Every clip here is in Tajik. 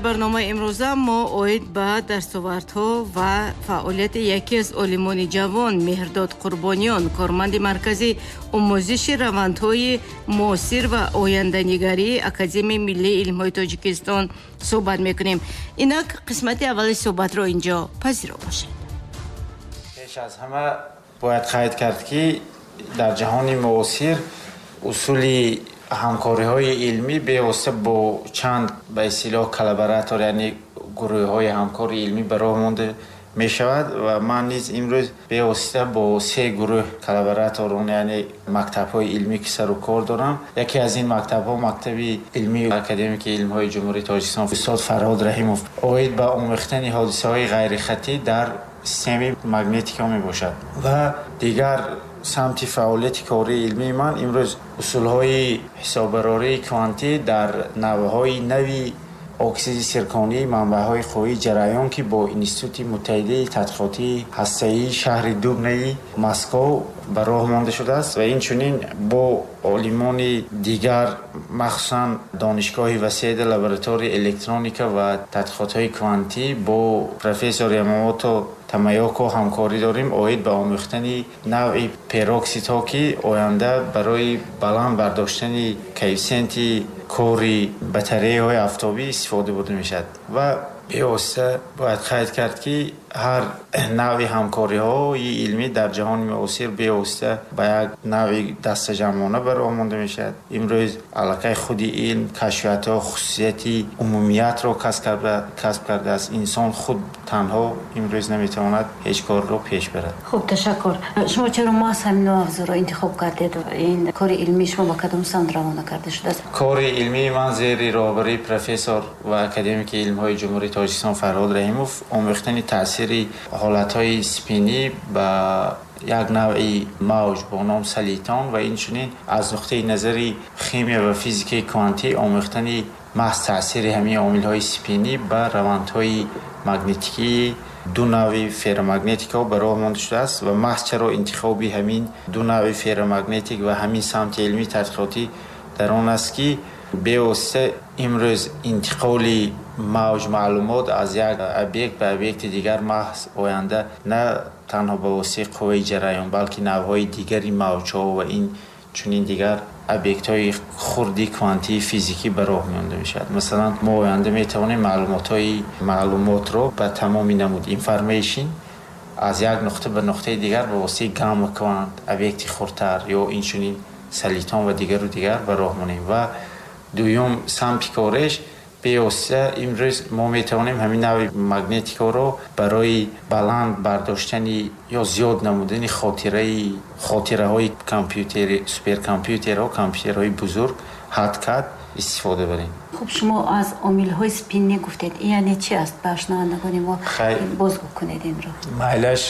Барномаи имрӯза мо оид ба дастовардҳо ва фаъолияти яке аз олимони ҷавон Меҳрдод Қурбониён, корманди Маркази омӯзиши равандҳои муосир ва оянданигарии Академияи миллии илмҳои Тоҷикистон суҳбат мекунем. Инак қисмати аввали суҳбатро инҷо пазиро бошед. Пеш аз ҳама бояд қайд кард, ки дар ҷаҳони муосир усули ҳамкориҳои илмӣ бевосита бо чанд, ба истилоҳ, коллаборатор, яъне гурӯҳҳои ҳамкори илмӣ ба роҳ монда мешавад ва ман низ имрӯз бевосита бо се гурӯҳ коллабораторон, яъне мактабҳои илмӣ, ки сару кор дорам. Яке аз ин мактабҳо мактаби илмии академики илмҳои Ҷумҳурии Тоҷикистон, устод Фарҳод Раҳимов, оид ба омӯхтани ҳодисаҳои ғайрихатӣ дар системаи магнетика мебошад. Ва дигар самти фаъолияти кории илмии ман имрӯз усулҳои ҳисоббарории квантӣ дар навъҳои нави оксиди сирконии манбаъҳои қуввии ҷараён, ки бо Институти муттаҳидаи тадқиқотии ҳастаии шаҳри Дубнаи Москов ба роҳ монда шудааст ва инчунин бо олимони дигар, махсусан Донишгоҳи Васеда, лабораторияи электроника ва тадқиқотҳои квантӣ, бо профессор Ямамото Тамаёко ҳамкорӣ дорем оид ба омӯхтани навъи пероксидҳо, ки оянда барои баланд бардоштани коэффисиенти кори батареяҳои афтобӣ истифода бурда мешавад. Ва бевосита бояд қайд кард, ки ҳар навъи ҳамкориҳои илмӣ дар ҷаҳони муосир бевосита ба як навъи дастаҷамъона ба роҳ монда мешавад. Имрӯз аллакай худи илм, кашфиятҳо хусусияти умумиятро касб кардааст. Инсон худ танҳо имрӯз наметавонад ҳеҷ корро пеш барад. Хуб, ташаккур. Шумо чаро маҳз ҳамин мавзӯъро интихоб кардед? Ин кори илмии шумо ба кадом самт равона карда шудааст? Кори илмии ман зери роҳбарии профессор ва академики илмҳои Ҷумҳурии Тоҷикистон Фарҳод Раҳимов омӯхтани таъсири ҳолатҳои спинӣ ба як навъи мавҷ бо ном солитон ва инчунин аз нуқтаи назари химия ва физикаи квантӣ омӯхтани маҳз таъсири ҳамин омилҳои спинӣ ба равандҳои магнитикии ду навъи ферромагнетикаҳо ба роҳ монда шудааст. Ва маҳз чаро интихоби ҳамин ду навъи ферромагнетик ва ҳамин самти илмии тадқиқотӣ дар он аст, ки бевосита имрӯз интиқоли мавҷ маълумот аз як объект ба объекти дигар маҳз оянда на танҳо ба воситаи қувваи ҷараён, балки навъҳои дигари мавҷҳо ва ин чунин дигар объектҳои хурди квантии физикӣ ба роҳ монда мешавад. Масалан, мо оянда метавонем маълумотро ба тамоми намуд information аз як нуқта ба нуқтаи дигар ба воситаи гамма квант, объекти хурдтар ё инчунин солитон ва дигару дигар ба роҳ монем. Ва дуюм самти кореш, бевосита имрӯз мо метавонем ҳамин навъи магнетикаро барои баланд бардоштани ё зиёд намудани хотираҳои компютери, суперкомпютерҳо, компютерҳои бузург ҳад кард истифода барем. Хуб, шумо аз омилҳои спиннӣ гуфтед, ин яъне чи аст? Ба шунавандагони мо бозгӯ кунед инро. Майлаш,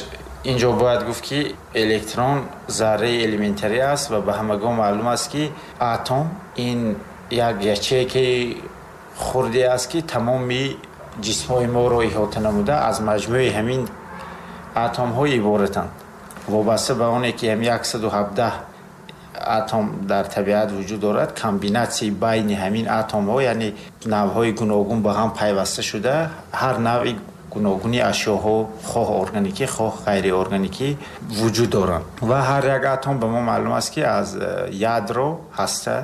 инҷо бояд гуфт, ки электрон зарраи элементарӣ аст ва ба ҳамагон маълум аст, ки атом ин як ячейкаи хурде аст, ки тамоми ҷисмҳои моро иҳота намуда, аз маҷмӯи ҳамин атомҳо иборатанд. Вобаста ба оне ки ҳам 117 атом дар табиат вуҷуд дорад, комбинатсияи байни ҳамин атомҳо, яъне навъҳои гуногун ба ҳам пайваста шуда, ҳар навъи гуногуни ашёҳо, хоҳ органикӣ, хоҳ ғайриорганикӣ, вуҷуд доранд. Ва ҳар як атом ба мо маълум аст, ки аз ядро, ҳаста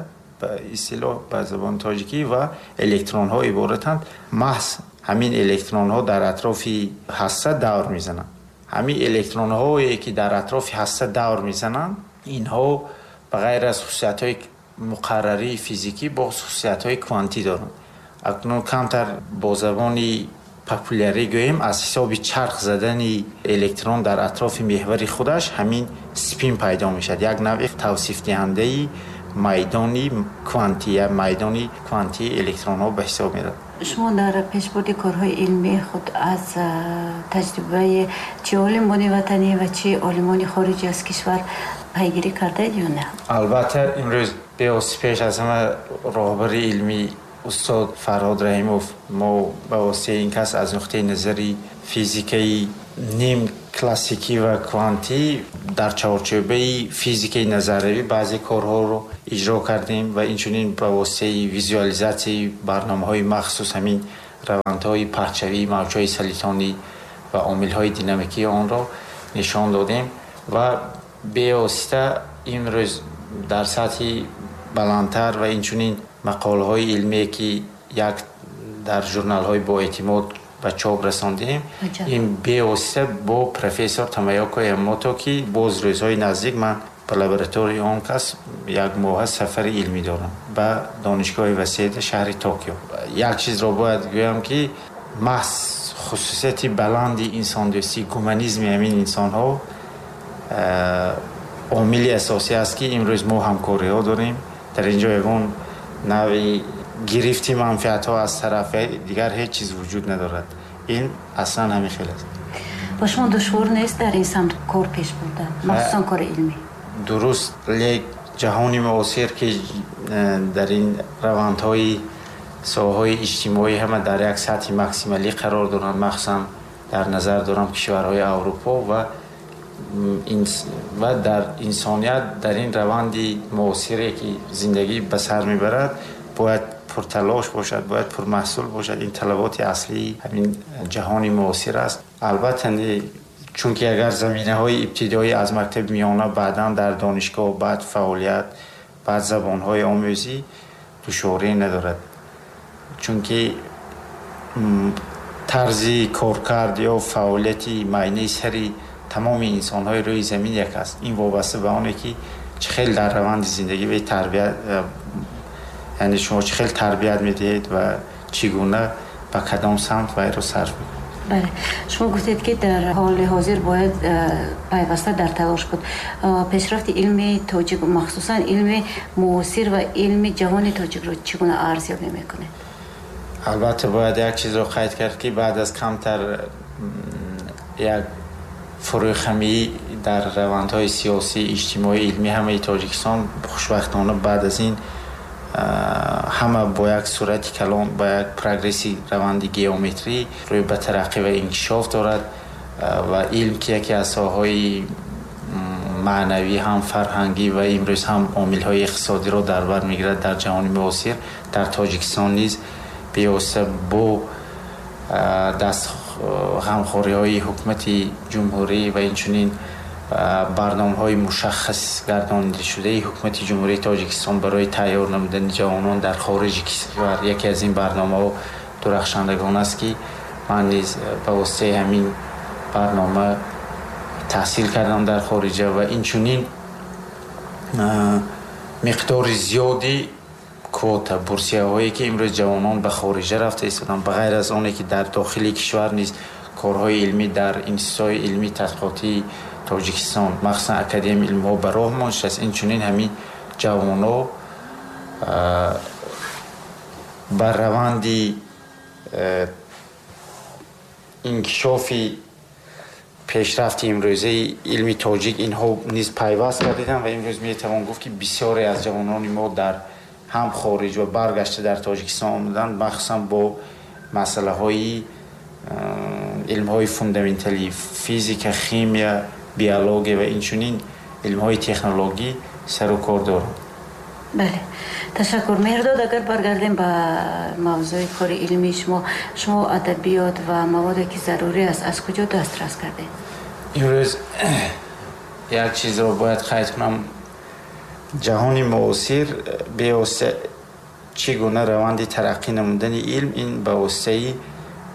ба истилоҳ ба забони тоҷикӣ, ва электронҳо иборатанд. Маҳз ҳамин электронҳо дар атрофи ҳаста давр мезананд. Ҳамин электронҳое, ки дар атрофи ҳаста давр мезананд, инҳо ба ғайр аз хусусиятҳои муқаррарии физикӣ боз хусусиятҳои квантӣ доранд. Акнун камтар бо забони популярӣ гӯем, аз ҳисоби чарх задани электрон дар атрофи меҳвари худаш ҳамин спин пайдо мешавад, як навъи тавсифдиҳандаи майдони квантӣ, майдони квантии электронҳо ба ҳисоб меравад. Шумо дар пешбурди корҳои илмии худ аз таҷрибаи чи олимони ватанӣ ва чи олимони хориҷи аз кишвар пайгирӣ кардаед ё не? Албатта, имрӯз бевосита пеш аз ҳама роҳбари илмӣ устод Фарҳод Раҳимов, мо ба воситаи ин кас аз нуқтаи назари физикаи ним классикӣ ва квантӣ дар чаҳорчӯбаи физикаи назариявӣ баъзе корҳоро иҷро кардем ва инчунин ба воситаи визуализатсияи барномаҳои махсус ҳамин равандҳои паҳншавии мавҷҳои солитонӣ ва омилҳои динамикии онро нишон додем ва бевосита имрӯз дар сатҳи баландтар ва инчунин мақолаҳои илмие, ки як дар журналҳои боэътимод ба чоп расондем, ин бевосита бо профессор Тамаёко Ямото, ки боз рӯзҳои наздик ман ба лабораторияи он кас як моҳа сафари илмӣ дорам ба донишгоҳи Васеда, шаҳри Токио. Як чизро бояд гӯям, ки маҳз хусусияти баланди инсондӯстӣ, гуманизми ҳамин инсонҳо омили асосӣ аст, ки имрӯз мо ҳамкориҳо дорем. Дар ин ҷо ягон навъи гирифти манфиатҳо аз тарафи дигар ҳеҷ чиз вуҷуд надорад. Ин аслан ҳамин хел аст. Ба шумо душвор нест дар ин самт кор пеш бурдан, махсусан кори илмӣ? Дуруст, лек ҷаҳони муосир, ки дар ин равандҳои соҳаҳои иҷтимоӣ ҳама дар як сатҳи максималӣ қарор доранд, махсусан дар назар дорам кишварҳои Аврупо ва дар инсоният дар ин раванди муосире, ки зиндагӣ ба сар мебарад, бояд пурталош бошад, бояд пурмаҳсул бошад. Ин талаботи аслии ҳамин ҷаҳони муосир аст. Албатта, чунки агар заминаҳои ибтидоӣ аз мактаби миёна, баъдан дар донишгоҳ, баъд фаъолият, баъд забонҳои омӯзӣ душворӣ надорад, чунки тарзи коркард ё фаъолияти майнаи сари тамоми инсонҳои рӯи замин як аст. Ин вобаста ба оне, ки чӣ хел дар раванди зиндагӣ ве тарбият, яъне шумо чӣ хел тарбият медиҳед ва чӣ гуна ба кадом самт вайро сарф мекунед. Бале, шумо гуфтед, ки дар ҳоли ҳозир бояд пайваста дар талош буд. Пешрафти илми тоҷик, махсусан илми муосир ва илми ҷавони тоҷикро чӣ гуна арзёбӣ мекунед? Албатта, бояд як чизро қайд кард, ки баъд аз камтар як фурӯхамӣ дар равандҳои сиёсӣ, иҷтимоӣ, илмӣ ҳамаи Тоҷикистон, хушбахтона баъд аз ин ҳама бо як суръати калон, бо як прогресси раванди геометрӣ рӯй ба тараққӣ ва инкишоф дорад ва илм, ки яке аз соҳаҳои маънавӣ, ҳам фарҳангӣ ва имрӯз ҳам омилҳои иқтисодиро дар бар мегирад, дар ҷаҳони муосир дар Тоҷикистон низ бевосита бо даст ғамхориҳои ҳукумати ҷумҳурӣ ва инчунин барномаҳои мушаххас гардонидашудаи ҳукумати Ҷумҳурии Тоҷикистон барои тайёр намудани ҷавонон дар хориҷи кишвар, яке аз ин барномаҳо Дурахшандагон аст, ки ман низ ба воситаи ҳамин барнома таҳсил кардам дар хориҷа ва инчунин миқдори зиёди квота, бурсияҳое, ки имрӯз ҷавонон ба хориҷа рафта истоданд, ба ғайр аз оне, ки дар дохили кишвар низ корҳои илмӣ дар институтҳои илмии тадқиқотии Тоҷикистон, махсусан Академияи илмҳо ба роҳ монда шудааст, инчунин ҳамин ҷавонҳо ба раванди инкишофи пешрафти имрӯзаи илми тоҷик инҳо низ пайваст гардиданд ва имрӯз метавон гуфт, ки бисёре аз ҷавонони мо дар ҳам хориҷ ва баргашта дар Тоҷикистон омаданд, махсусан бо масъалаҳои илмҳои фундаменталӣ, физика, химия, биология ва инчунин илмҳои технологӣ сару кор доранд. Бале, ташаккур, Меҳрдод. Агар баргардем ба мавзӯи кори илмии шумо, шумо адабиёт ва маводе, ки зарурӣ аст, аз куҷо дастрас кардед? Имрӯз як чизро бояд қайд кунам. Ҷаҳони муосир бевосита чӣ гуна раванди тараққӣ намудани илм, ин ба воситаи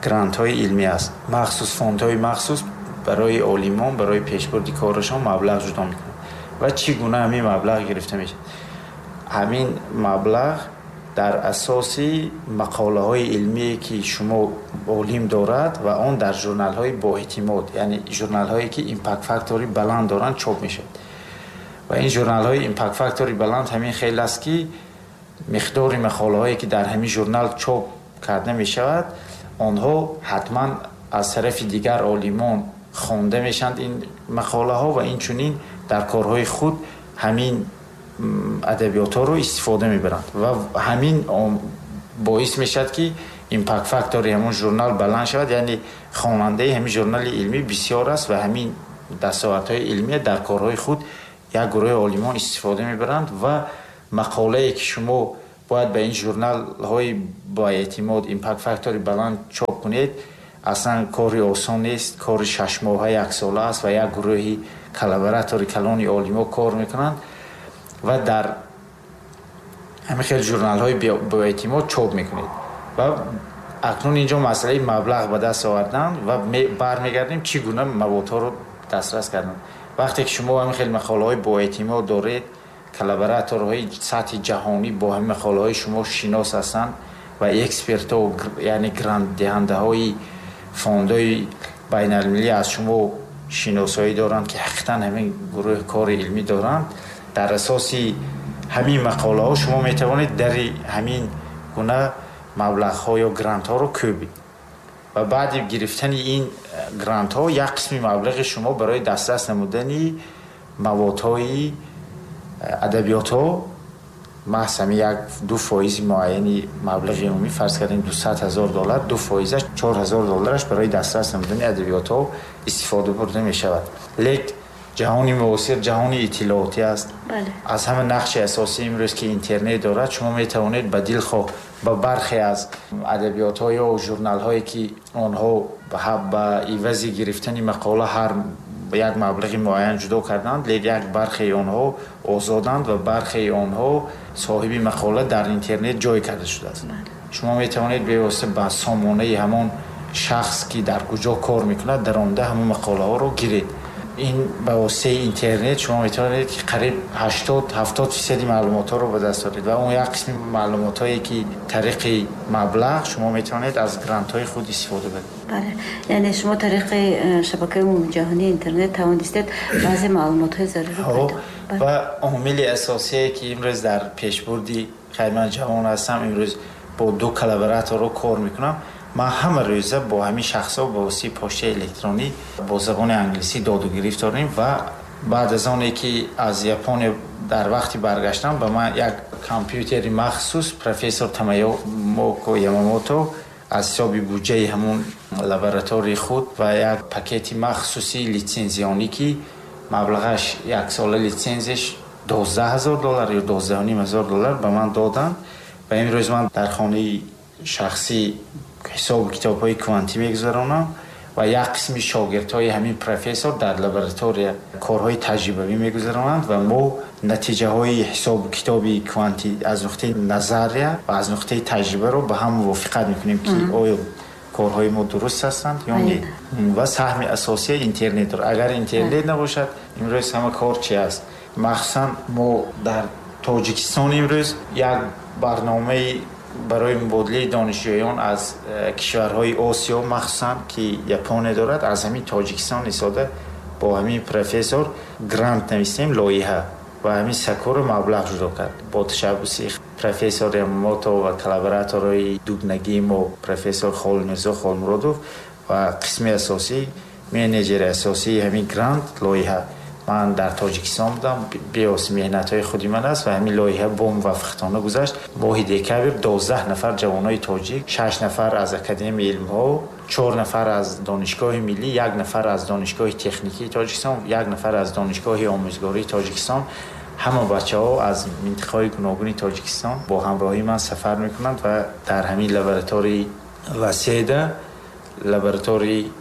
грантҳои илмӣ аст. Махсус фондҳои махсус барои олимон, барои пешбурди корашон маблағ ҷудо мекунанд. Ва чӣ гуна ҳамин маблағ гирифта мешавад? Ҳамин маблағ дар асоси мақолаҳои илмие, ки шумо олим дорад ва он дар журналҳои боэътимод, яъне журналҳое, ки impact factor и баланд доранд, чоп мешавад. Ва ин журналҳои impact factor и баланд ҳамин хел аст, ки миқдори мақолаҳое, ки дар ҳамин журнал чоп карда мешавад, онҳо ҳатман аз тарафи дигар олимон хонда мешаванд ин мақолаҳо ва инчунин дар корҳои худ ҳамин адабиётҳоро истифода мебаранд ва ҳамин боис мешавад, ки impact factor и ҳамон журнал баланд шавад, яъне хонандаи ҳамин журнали илмӣ бисёр аст ва ҳамин дастовардҳои илмия дар корҳои худ як гурӯҳи олимон истифода мебаранд ва мақолае, ки шумо Бояд ба ин журналҳои бо эътимод, impact factor баланд чоп кунед. Аслан кори осон нест, кори 6 моҳа, яксола аст ва як гурӯҳи collaborator и калони олимо кор мекунанд ва дар ҳамин хел журналҳои боэътимод чоп мекунед. Ва акнун инҷо масъалаи маблағ ба даст овардан ва бармегардем, чӣ гуна маводҳоро дастрас кардан. Вақте ки шумо ҳамин хел мақолаҳои боэътимод доред, collaborator ҳои сатҳи ҷаҳонӣ бо ҳамин мақолаҳои шумо шинос ҳастанд ва экспертҳо, яъне грантдиҳандаҳои фондҳои байналмилалӣ аз шумо шиносоӣ доранд, ки ҳақиқатан ҳамин гурӯҳ кори илмӣ доранд, дар асоси ҳамин мақолаҳо шумо метавонед дари ҳамин гуна маблағҳо ё грантҳоро кӯбед. Ва баъди гирифтани ин грантҳо як қисми маблағи шумо барои дастрас намудани маводҳои адабиётҳо, маҳз ҳамин 1-2 фоизи муайяни маблағи умумӣ, фарз кардем 200 000 доллар, 2 фоизаш, 4000 доллараш барои дастрас намудани адабиётҳо истифода бурда мешавад. Лек ҷаҳони муосир ҷаҳони иттилоотӣ аст. Аз ҳама нақши асосӣ имрӯз ки интернет дорад, шумо метавонед ба дилхоҳ ба бархе аз адабиётҳо ё журналҳое, ки онҳо ба ивази гирифтани мақола ҳар як маблағи муайян ҷудо карданд, лек як бархеи онҳо озоданд ва бархеи онҳо соҳиби мақола дар интернет ҷой карда шудааст, шумо метавонед бевосита ба сомонаи ҳамон шахс, ки дар куҷо кор мекунад, даромада ҳамон мақолаҳоро гиред. Ин ба воситаи интернет шумо метавонед, ки қариб 80-70 фисади маълумотҳоро ба даст оред ва он як қисми маълумотҳое, ки тариқи маблағ шумо метавонед аз грантҳои худ истифода баред. Бале, яъне шумо тариқи шабакаи умумиҷаҳонии интернет тавонистед баъзе маълумотҳои заруриро пайдо. Ва омили асосие, ки имрӯз дар пешбурди, хай, ман ҷавон ҳастам, имрӯз бо ду collaborator ро кор мекунам. Ман ҳама рӯза бо ҳамин шахсҳо ба воситаи почтаи электронӣ бо забони англисӣ доду гирифт дорем. Ва баъд аз оне ки аз Япония дар вақти баргаштан ба ман як компютери махсус профессор Тамамоко Ямамото аз ҳисоби буҷаи ҳамун лаборатории худ ва як пакети махсуси лицензионӣ, ки маблағаш яксола лицензияш 12 000 доллар ё 12 500 доллар, ба ман доданд. Ва имрӯз ман дар хонаи шахсӣ ҳисобу китобҳои квантӣ мегузаронам ва як қисми шогирдҳои ҳамин профессор дар лаборатория корҳои таҷрибавӣ мегузаронанд ва мо натиҷаҳои ҳисобу китоби квантӣ аз нуқтаи назария ва аз нуқтаи таҷрибаро ба ҳам мувофиқат мекунем, ки оё корҳои мо дуруст ҳастанд ё не. Ва саҳми асосия интернет дорад. Агар интернет набошад, имрӯз ҳама кор чи аст? Махсусан мо дар Тоҷикистон имрӯз як барномаи барои мубодилаи донишҷӯён аз кишварҳои Осиё, махсусан ки Япония дорад, аз ҳамин Тоҷикистон истода бо ҳамин профессор грант навистем, лоиҳа, ва ҳамин Сакура маблағ ҷудо кард бо ташаббуси профессор Ямамото ва collaborator ҳои дубнагии мо, профессор Холмирзо Холмуродов, ва қисми асосӣ, менеҷери асосии ҳамин грант, лоиҳа, ман дар Тоҷикистон будам, бевосита меҳнатҳои худи ман аст. Ва ҳамин лоиҳа бо муваффақиятона гузашт. Моҳи декабр 12 нафар ҷавонои тоҷик, шаш нафар аз Академияи илмҳо, чор нафар аз Донишгоҳи миллӣ, як нафар аз Донишгоҳи техникии Тоҷикистон, як нафар аз Донишгоҳи омӯзгории Тоҷикистон, ҳама бачаҳо аз минтақаҳои гуногуни Тоҷикистон бо ҳамроҳии ман сафар мекунанд ва дар ҳамин лаборатории Васеда, лаборатории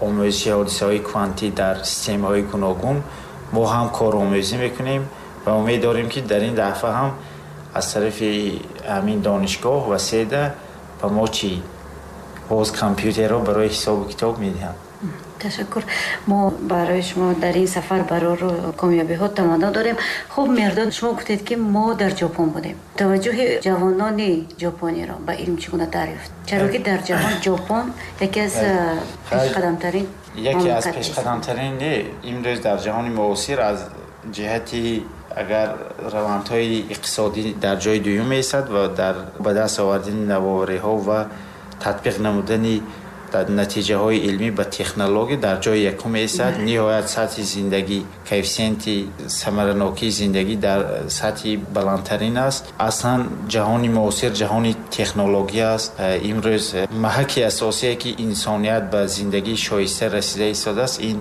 омӯзиши ҳодисаҳои квантӣ дар системаҳои гуногун, мо ҳам коромӯзӣ мекунем ва умед дорем, ки дар ин дафъа ҳам аз тарафи ҳамин донишгоҳ Васеда ба мо чӣ боз компютерро барои ҳисобу китоб медиҳанд. Ташаккур. Мо барои шумо дар ин сафар барору комёбиҳо таманно дорем. Хуб, Меҳрдод, шумо гуфтед, ки мо дар Ҷопон будем. Таваҷҷӯҳи ҷавонони ҷопониро ба илм чӣ гуна дарёфт? Чаро ки дар ҷаҳон Ҷопон яке аз пешқадамтарин Яке аз пешқадамтарин не, имрӯз дар ҷаҳони муосир аз ҷиҳати агар равандҳои иқтисодӣ дар ҷои дуюм меистад ва дар ба даст овардани навовариҳо ва татбиқ намудани натиҷаҳои илмӣ ба технология дар ҷои якум меистад. Ниҳоят сатҳи зиндагӣ, коэффисиенти самаранокии зиндагӣ дар сатҳи баландтарин аст. Аслан ҷаҳони муосир ҷаҳони технология аст. Имрӯз маҳаки асосие, ки инсоният ба зиндагии шоиста расида истодааст, ин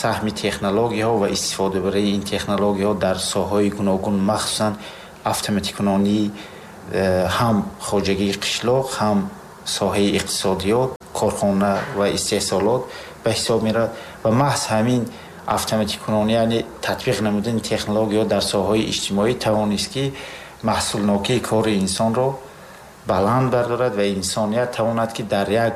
саҳми технологияҳо ва истифодабарии ин технологияҳо дар соҳаҳои гуногун, махсусан автоматикунонӣ. Ҳам хоҷагии қишлоқ, ҳам соҳаи иқтисодиёт, корхона ва истеҳсолот ба ҳисоб меравад ва маҳз ҳамин автоматикунонӣ, яъне татбиқ намудани технологияҳо дар соҳаҳои иҷтимоӣ тавонист, ки маҳсулнокии кори инсонро баланд бардорад ва инсоният тавонад, ки дар як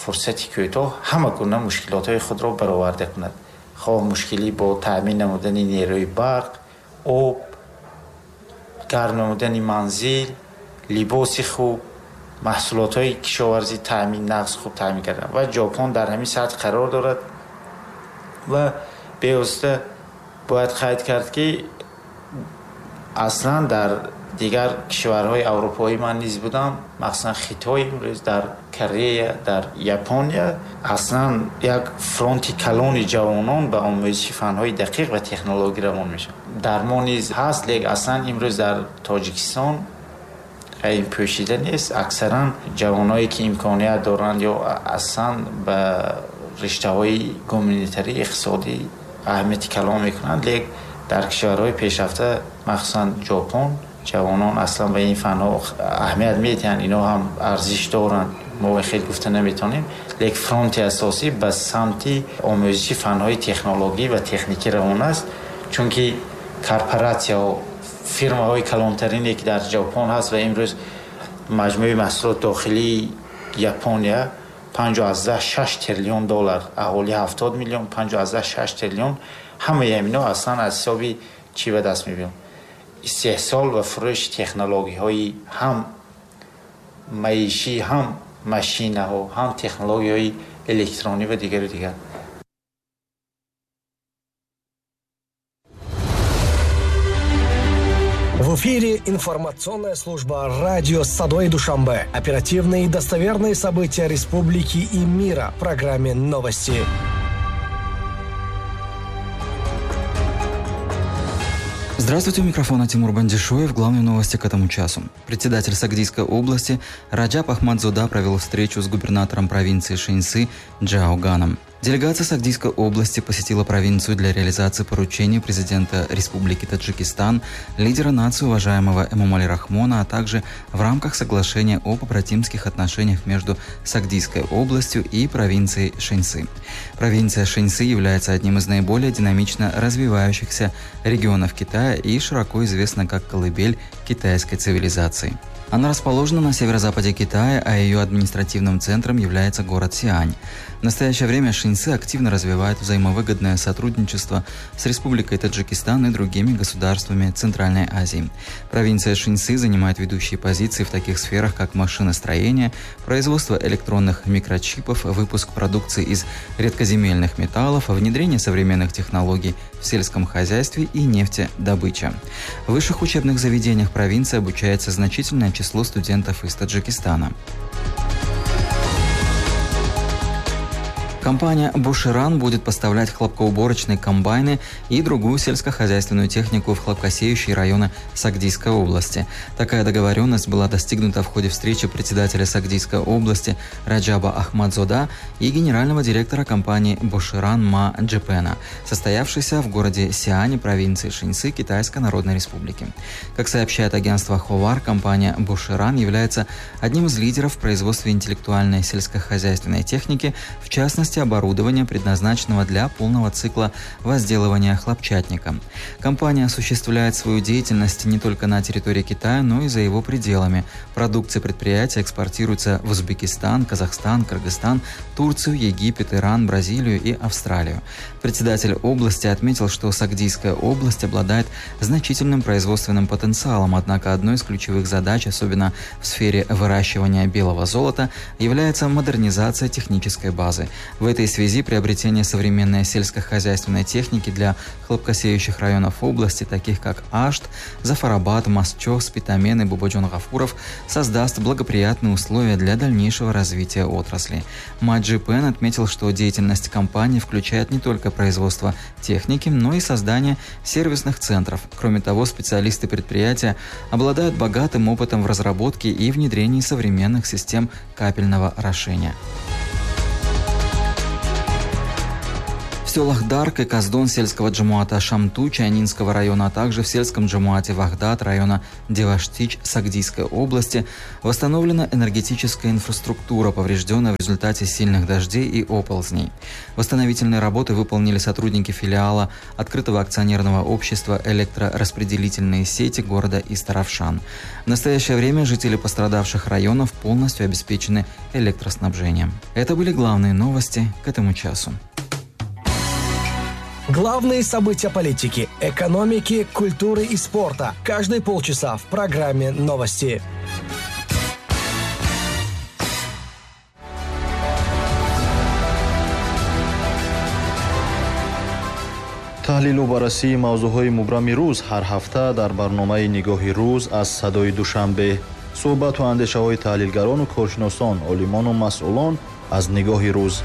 фурсати кӯтоҳ ҳама гуна мушкилотҳои худро бароварда кунад, хоҳ мушкилӣ бо таъмин намудани нерӯи барқ, об, гарм намудани манзил, либоси хуб, маҳсулотҳои кишоварзӣ таъмин, нағз хуб таъмин кардан. Ва Ҷопон дар ҳамин сатҳ қарор дорад ва бевосита бояд қайд кард, ки аслан дар дигар кишварҳои аврупоӣ ман низ будам, махсусан Хитой, имрӯз дар Корея, дар Япония аслан як фронти калони ҷавонон ба омӯзиши фанҳои дақиқ ва технологӣ равон мешаванд. Дар мо низ ҳаст, лек аслан имрӯз дар Тоҷикистон ин пӯшида нест. Аксаран ҷавоное, ки имконият доранд, ё аслан ба риштаҳои гуманитарӣ, иқтисодӣ аҳамияти калон мекунанд, лек дар кишварҳои пешрафта, махсусан Ҷопон, ҷавонон аслан ба ин фанҳо аҳамият медиҳанд, ино ҳам арзиш доранд, мо хеле гуфта наметавонем, лек фронти асосӣ ба самти омӯзиши фанҳои технологӣ ва техникӣ равон аст, чунки корпоратсияҳо, фирмаҳои калонтарине, ки дар Ҷопон ҳаст ва имрӯз маҷмӯи маҳсулоти дохилии Япония 5,6 триллион доллар, аҳолӣ 70 миллион, 5,6 триллион, ҳамаи ҳамино аслан аз ҳисоби чӣ ба даст мебиёнд? Истеҳсол ва фурӯши технологияҳои ҳам маишӣ, ҳам машинаҳо, ҳам технологияҳои электронӣ ва дигару дигар. В эфире информационная служба радио «Садои Душанбе». Оперативные и достоверные события республики и мира в программе «Новости». Здравствуйте, у микрофона Тимур Бандишоев. Главные новости к этому часу. Председатель Сагдийской области Раджаб Ахмадзода провел встречу с губернатором провинции Шэньси Джао Ганом. Делегация Сагдийской области посетила провинцию для реализации поручений президента Республики Таджикистан, лидера нации уважаемого Эмомали Рахмона, а также в рамках соглашения о побратимских отношениях между Сагдийской областью и провинцией Шэньси. Провинция Шэньси является одним из наиболее динамично развивающихся регионов Китая и широко известна как колыбель китайской цивилизации. Она расположена на северо-западе Китая, а ее административным центром является город Сиань. В настоящее время Шэньси активно развивает взаимовыгодное сотрудничество с Республикой Таджикистан и другими государствами Центральной Азии. Провинция Шэньси занимает ведущие позиции в таких сферах, как машиностроение, производство электронных микрочипов, выпуск продукции из редкоземельных металлов, внедрение современных технологий в сельском хозяйстве и нефтедобыча. В высших учебных заведениях провинции обучается значительное число студентов из Таджикистана. Компания «Буширан» будет поставлять хлопкоуборочные комбайны и другую сельскохозяйственную технику в хлопкосеющие районы Сагдийской области. Такая договоренность была достигнута в ходе встречи председателя Сагдийской области Раджаба Ахмадзода и генерального директора компании «Буширан» Ма Джепена, состоявшейся в городе Сиане провинции Шэньси Китайской Народной Республики. Как сообщает агентство «Ховар», компания «Буширан» является одним из лидеров в производстве интеллектуальной сельскохозяйственной техники, в частности, оборудования, предназначенного для полного цикла возделывания хлопчатника. Компания осуществляет свою деятельность не только на территории Китая, но и за его пределами. Продукция предприятия экспортируется в Узбекистан, Казахстан, Кыргызстан, Турцию, Египет, Иран, Бразилию и Австралию. Председатель области отметил, что Сагдийская область обладает значительным производственным потенциалом, однако одной из ключевых задач, особенно в сфере выращивания белого золота, является модернизация технической базы. В этой связи приобретение современной сельскохозяйственной техники для хлопкосеющих районов области, таких как Ашт, Зафарабад, Масчо, Спитамен и Бубоджон-Гафуров, создаст благоприятные условия для дальнейшего развития отрасли. Ма Джипен отметил, что деятельность компании включает не только производство техники, но и создание сервисных центров. Кроме того, специалисты предприятия обладают богатым опытом в разработке и внедрении современных систем капельного орошения. В селах Дарк и Каздон сельского джамуата Шамту Чайнинского района, а также в сельском джамуате Вахдат района Деваштич Сагдийской области восстановлена энергетическая инфраструктура, поврежденная в результате сильных дождей и оползней. Восстановительные работы выполнили сотрудники филиала открытого акционерного общества «Электрораспределительные сети» города Истаравшан. В настоящее время жители пострадавших районов полностью обеспечены электроснабжением. Это были главные новости к этому часу. Главные события политики, экономики, культуры и спорта. Каждые полчаса в программе «Новости». Таҳлилу баррасии мавзӯъҳои мубрами рӯз ҳар ҳафта дар барномаи «Нигоҳи рӯз» аз Садои Душанбе. Суҳбату андешаҳои таҳлилгарону коршиносон, олимону масъулон аз нигоҳи рӯз.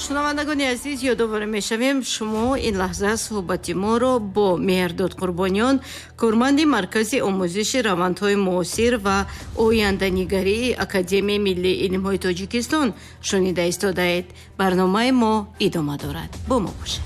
Шунавандагони азиз, ёдовар мешавем, шумо ин лаҳза суҳбати моро бо Меҳрдод Қурбониён, корманди Маркази омӯзиши равандҳои муосир ва оянданигарии Академияи миллии илмҳои Тоҷикистон шунида истодаед. Барномаи мо идома дорад. Бо мо бошед.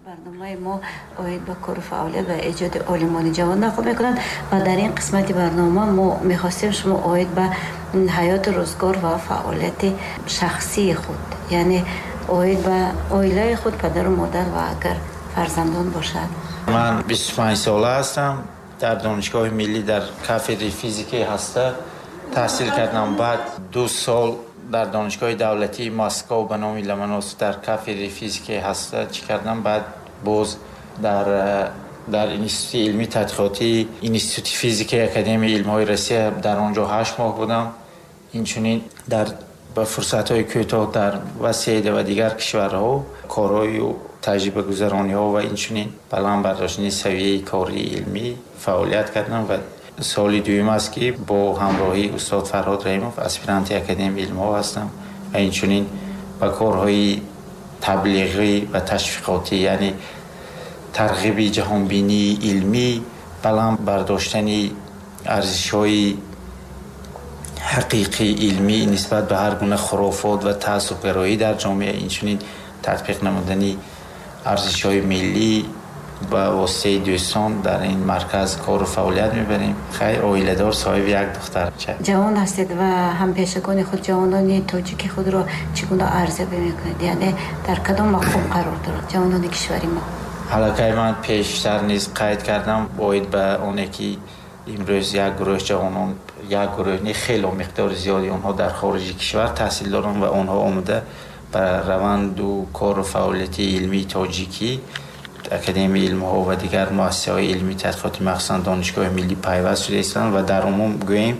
Барномаи мо оид ба кору фаъолият ва эҷоди олимони ҷавон нақл мекунанд ва дар ин қисмати барнома мо мехостем шумо оид ба ҳаёти рӯзгор ва фаъолияти шахсии худ, яъне оид ба оилаи худ, падару модар ва агар фарзандон бошад. Ман 25 сола ҳастам, дар Донишгоҳи миллӣ дар кафедраи физикаи ҳаста таҳсил кардам. Баъд 2 сол дар Донишгоҳи давлатии Москва ба номи Ломоносов дар кафедраи физикаи ҳаста чӣ кардам. Баъд боз дар Институти илмии тадқиқотии Институти физикаи Академияи илмҳои Россия дар он ҷо 8 моҳ будам. Инчунин дар ба фурсатҳои кӯтоҳ дар Васеда ва дигар кишварҳо корҳою таҷрибагузарониҳо ва инчунин баланд бардоштани савияи кории илмӣ фаъолият кардам ва соли дуюм аст, ки бо ҳамроҳии устод Фарҳод Раҳимов аспиранти Академияи илмҳо ҳастам ва инчунин ба корҳои таблиғӣ ва ташвиқотӣ, яъне тарғиби ҷаҳонбинии илмӣ, баланд бардоштани арзишҳои ҳақиқии илмӣ нисбат ба ҳар гуна хурофот ва таассубгароӣ дар ҷомеа, инчунин татбиқ намудани арзишҳои миллӣ ба воситаи дӯстон дар ин марказ кору фаъолият мебарем. Хайр, оиладор, соҳиби як духтарча. Ҷавон ҳастед ва ҳампешагони худ, ҷавонони тоҷики худро чӣ гуна арзёбӣ мекунед? Яъне дар кадом мақом қарор дорад ҷавонони кишвари мо? Аллакай ман пештар низ қайд кардам оид ба оне, ки имрӯз як гурӯҳ ҷавонон, як гурӯҳ не, хело миқдори зиёди онҳо дар хориҷи кишвар таҳсил доранд ва онҳо омада ба раванду кору фаъолияти илмии тоҷикӣ, Академияи илмҳо ва дигар муассисаҳои илмии тадқиқотӣ, махсусан Донишгоҳи миллӣ пайваст шуда истанд ва дар умум гӯем,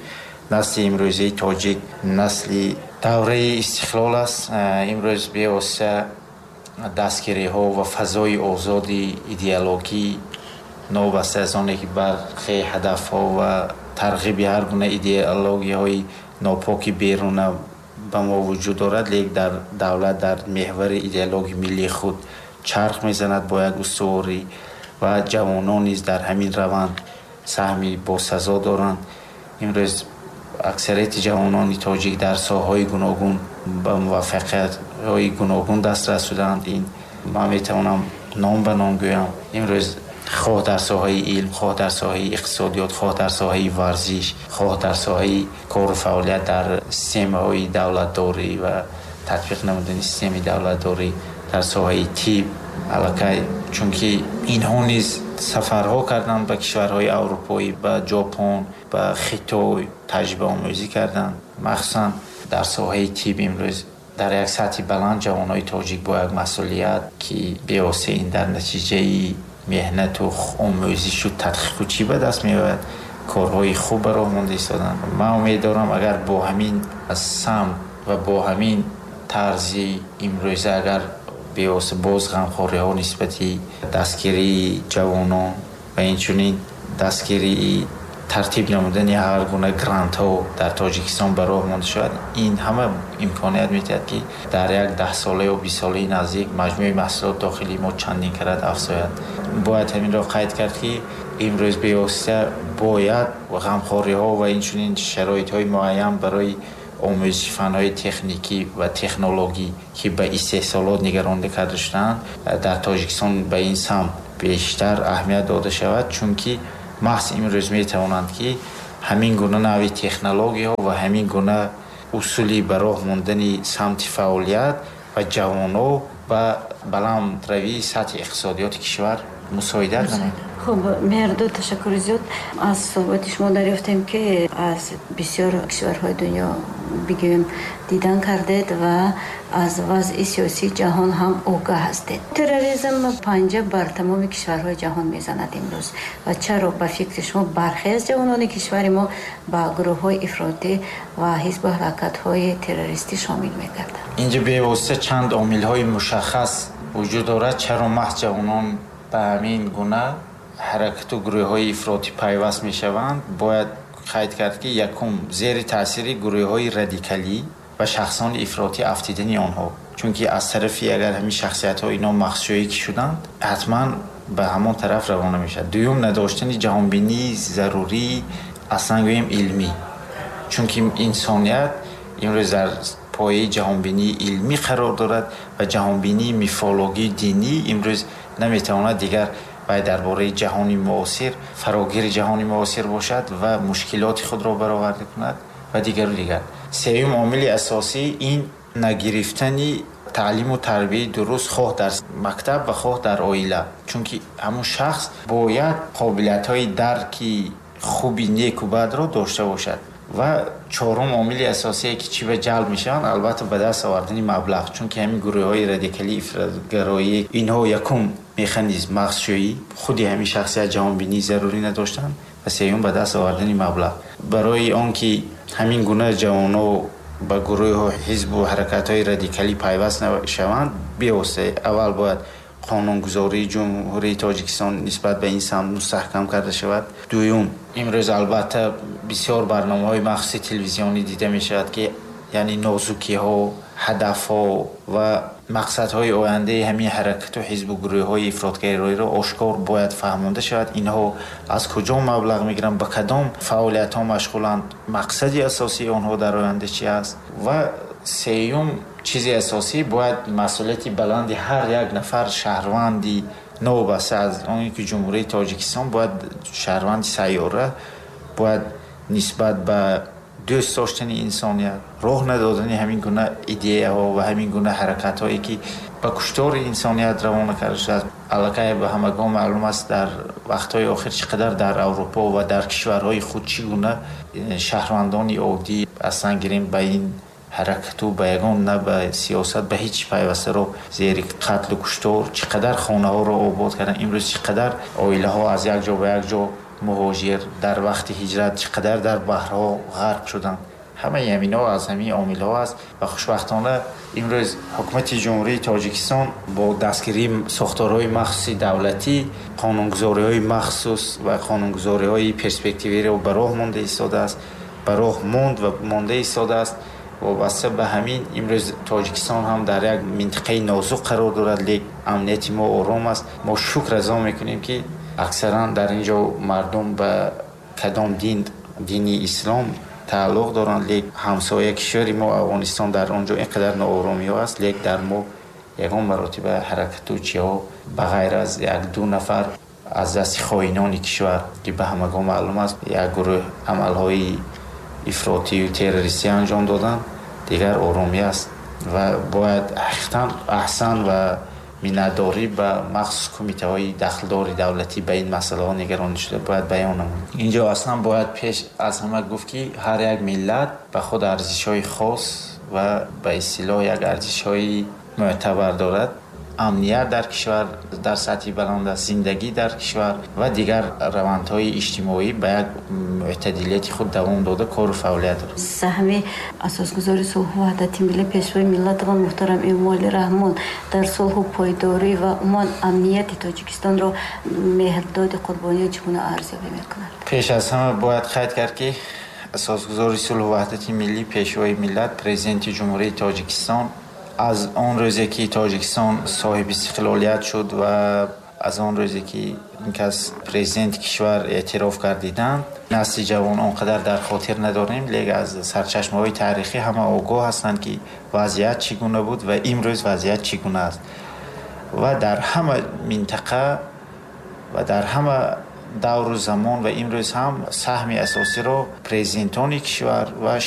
насли имрӯзаи тоҷик насли давраи истиқлол аст. Имрӯз бевосита дастгириҳо ва фазои озоди идеологӣ, новобаста аз оне ки бархе ҳадафҳо ва тарғиби ҳар гуна идеологияҳои нопоки беруна ба мо вуҷуд дорад, лек дар давлат дар меҳвари идеологии миллии худ чарх мезанад бо як устуворӣ ва ҷавонон низ дар ҳамин раванд саҳми босазо доранд. Имрӯз аксарияти ҷавонони тоҷик дар соҳаҳои гуногун ба муваффақиятҳои гуногун дастрас шудаанд. Ин ман метавонам ном ба ном гӯям. Имрӯз хоҳ дар соҳаи илм, хоҳ дар соҳаи иқтисодиёт, хоҳ дар соҳаи варзиш, хоҳ дар соҳаи кору фаъолият дар системаҳои давлатдорӣ ва татбиқ намудани системаи давлатдорӣ дар соҳаи тиб, аллакай чунки инҳо низ сафарҳо карданд ба кишварҳои аврупоӣ, ба Ҷопон, ба Хитой таҷрибаомӯзӣ карданд. Махсусан дар соҳаи тиб имрӯз дар як сатҳи баланд ҷавонони тоҷик бо як масъулият, ки бевосита ин дар натиҷаи меҳнату омӯзишу тадқиқу чӣ ба даст меояд, корҳои хуб ба роҳ монда истоданд. Ман умед дорам, агар бо ҳамин самт ва бо ҳамин тарзи имрӯза, агар бевосита боз ғамхориҳо нисбати дастгирии ҷавонон ва инчунин дастгирии тартиб намудани ҳар гуна грантҳо дар Тоҷикистон ба роҳ монда шавад, ин ҳама имконият медиҳад, ки дар як 10 сола ё 20 солаи наздик маҷмӯи маҳсулот дохилии мо чандин карат афзояд. Бояд ҳаминро қайд кард, ки имрӯз бевосита бояд ғамхориҳо ва инчунин шароитҳои муайян барои омӯзиши фанҳои техникӣ ва технологӣ, ки ба истеҳсолот нигаронда карда шудаанд, дар Тоҷикистон ба ин самт бештар аҳамият дода шавад, чунки маҳз имрӯз метавонанд, ки ҳамин гуна нави технологияҳо ва ҳамин гуна усули ба роҳ мондани самти фаъолият ва ҷавонҳо ба баландравии сатҳи иқтисодиёти кишвар мусоидат намояд. Хуб, Меҳрдод, ташаккури зиёд. Аз суҳбати шумо дарёфтем, ки аз бисёр кишварҳои дунё бигӯем дидан кардед ва аз вазъи сиёсии ҷаҳон ҳам огаҳ ҳастед. Терроризм панҷа бар тамоми кишварҳои ҷаҳон мезанад имрӯз. Ва чаро ба фикри шумо бархе аз ҷавонони кишвари мо ба гурӯҳҳои ифротӣ ва ҳизбу ҳаракатҳои террористӣ шомил мегарданд? Инҷа бевосита чанд омилҳои мушаххас вуҷуд дорад, чаро маҳз ҷавонон ба ҳамин гуна ҳаракату гурӯҳҳои ифротӣ пайваст мешаванд. Бояд қайд кард, ки якум, зери таъсири гурӯҳҳои радикалӣ ва шахсони ифротӣ афтидани онҳо, чунки аз тарафи агар ҳамин шахсиятҳо ино махсушоӣ ки шуданд, ҳатман ба ҳамон тараф равона мешавад. Дуюм, надоштани ҷаҳонбинии зарурӣ, аслан гӯем илмӣ, чунки инсоният имрӯз дар пояи ҷаҳонбинии илмӣ қарор дорад ва ҷаҳонбинии мифологии динӣ имрӯз наметавонад дигар вай дар бораи ҷаҳони муосир, фарогири ҷаҳони муосир бошад ва мушкилоти худро бароварда кунад ва дигару дигар. Сеюм омили асосӣ ин нагирифтани таълиму тарбияи дуруст, хоҳ дар мактаб ва хоҳ дар оила, чунки ҳамун шахс бояд қобилиятҳои дарки хуби неку бадро дошта бошад. Ва чорум омили асосие, ки чӣ ба ҷалб мешаванд, албатта ба даст овардани маблағ, чунки ҳамин гурӯҳҳои радикалии ифротгароӣ инҳо якум механизм мағзшӯӣ, худи ҳамин шахсият ҷаҳонбинии зарурӣ надоштанд, ва сеюм ба даст овардани маблағ. Барои он ки ҳамин гуна ҷавонҳо ба гурӯҳу ҳизбу ҳаракатҳои радикалӣ пайваст нашаванд, бевосита аввал бояд қонунгузории Ҷумҳурии Тоҷикистон нисбат ба ин самт мустаҳкам карда шавад. Дуюм, имрӯз албатта бисёр барномаҳои махсуси телевизионӣ дида мешавад, ки яъне нозукиҳо, ҳадафҳо ва мақсадҳои ояндаи ҳамин ҳаракату ҳизбу гурӯҳҳои ифротгароиро ошкор бояд фаҳмонда шавад. Инҳо аз куҷо маблағ мегиранд, ба кадом фаъолиятҳо машғуланд, мақсади асосии онҳо дар оянда чи аст. Ва сеюм чизи асосӣ, бояд масъулияти баланди ҳар як нафар шаҳрванди новобаста аз он ки Ҷумҳурии Тоҷикистон, бояд шаҳрванди сайёра бояд нисбат ба дӯст доштани инсоният, роҳ надодани ҳамин гуна идеяҳо ва ҳамин гуна ҳаракатҳое, ки ба куштори инсоният равона карда шудааст. Аллакай ба ҳамагон маълум аст, дар вақтҳои охир чӣ қадар дар Аврупо ва дар кишварҳои худ чӣ гуна шаҳрвандони оддӣ, аслан гирем, ба ин ҳаракату ба ягон на ба сиёсат, ба ҳеҷ пайвастаро зери қатлу куштор чӣ қадар хонаҳоро обод карданд. Имрӯз чӣ қадар оилаҳо аз як ҷо ба як ҷо муҳоҷир, дар вақти ҳиҷрат чӣ қадар дар баҳрҳо ғарқ шуданд. Ҳамаи ҳаминҳо аз ҳамин омилҳо аст ва хушбахтона имрӯз ҳукумати Ҷумҳурии Тоҷикистон бо дастгирии сохторҳои махсуси давлатӣ қонунгузориҳои махсус ва қонунгузориҳои перспективиро ба роҳ монда истодааст, ба роҳ монд ва монда истодааст. Вобаста ба ҳамин имрӯз Тоҷикистон ҳам дар як минтақаи нозук қарор дорад, лек амнияти мо ором аст. Мо шукр азо мекунем, ки аксаран дар ин ҷо мардум ба кадом дин, дини ислом тааллуқ доранд, лек ҳамсоя кишвари мо Афғонистон, дар он ҷо ин қадар ноороሚҳо аст, лек дар мо ягон маротиба ҳаракату чиҳо ба ғайр аз як ду нафар аз дасти хоинони кишвар, ки ба ҳамагон маълум аст, як гурӯҳ амалҳои ифротию террористӣ анҷом доданд, дигар оромӣ аст. Ва бояд ҳақиқатан аҳсан ва миннатдорӣ ба махсус кумитаҳои дахлдори давлатӣ ба ин масъалаҳо нигаронӣ шуда бояд баён намуд. Инҷо аслан бояд пеш аз ҳама гуфт, ки ҳар як миллат ба худ арзишҳои хос ва ба истилоҳ як арзишҳои мӯътабар дорад. Амният дар кишвар дар сатҳи баланд аст, зиндагӣ дар кишвар ва дигар равандҳои иҷтимоӣ ба як мӯътадилияти худ давом дода кору фаъолият дорад. Саҳми асосгузори сулҳу ваҳдати миллӣ, Пешвои миллатамон муҳтарам Эмомалӣ Раҳмон дар сулҳу пойдорӣ ва умуман амнияти Тоҷикистонро Меҳрдоди Қурбониён чӣ гуна арзёбӣ мекунад? Пеш аз ҳама бояд қайд кард, ки асосгузори сулҳу ваҳдати миллӣ, Пешвои миллат, Президенти Ҷумҳурии Тоҷикистон аз он рӯзе, ки Тоҷикистон соҳиби истиқлолият шуд ва Аз он рӯзе ки ин кас президенти кишвар эътироф гардиданд, насли ҷавон он қадар дар хотир надорем, лек аз сарчашмаҳои таърихӣ ҳама огоҳ ҳастанд, ки вазъият чӣ гуна буд ва имрӯз вазъият чӣ гуна аст. Ва дар ҳама минтақа ва дар ҳама давру замон ва имрӯз ҳам саҳми асосиро президентони кишвар ва